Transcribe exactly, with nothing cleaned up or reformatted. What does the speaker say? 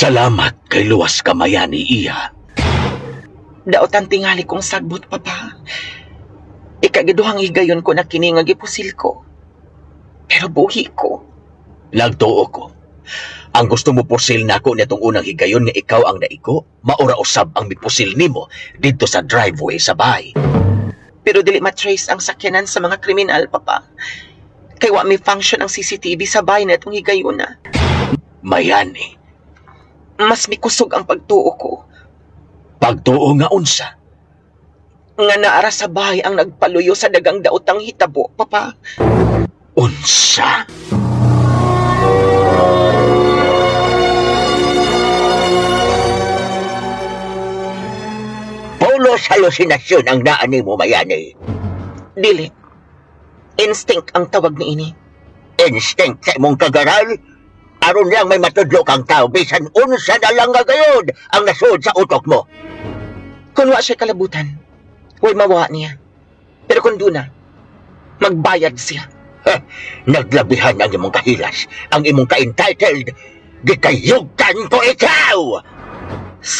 Salamat kay luwas ka, Mayani, iha. Daotan tingali kong sagbot, Papa. Ikagiduhang higayon ko na kini nga gipusil ko. Pero buhi ko. Nagtuo ko. Ang gusto mo pusil nako nitong unang higayon nga ikaw ang naigo, maura usab ang mipusil nimo didto sa driveway sa bahay. Pero dili matrace ang sakyanan sa mga kriminal, Papa. Kay wa may function ang C C T V sa bahay na itong higayuna. Mayani, Mas mikusog ang pagtuo ko pagtuo nga unsa? nga naara sa bahay ang nagpaluyo sa dagang daotang hitabo, Papa. Unsa? Pulos halusinasyon ang naa nimo, Mayani. Dili. Instinct ang tawag niini. Instinct sa imong kagaral. Aron lang may matudlo kang tao, bisan unsa na lang nga gayod ang nasud sa utok mo. Kung wa siya kalabutan, way mawa niya. Pero kung duna, magbayad siya. Naglabihan ang imong kahilas, ang imong ka-entitled. Gikayugtan ko ikaw! Sa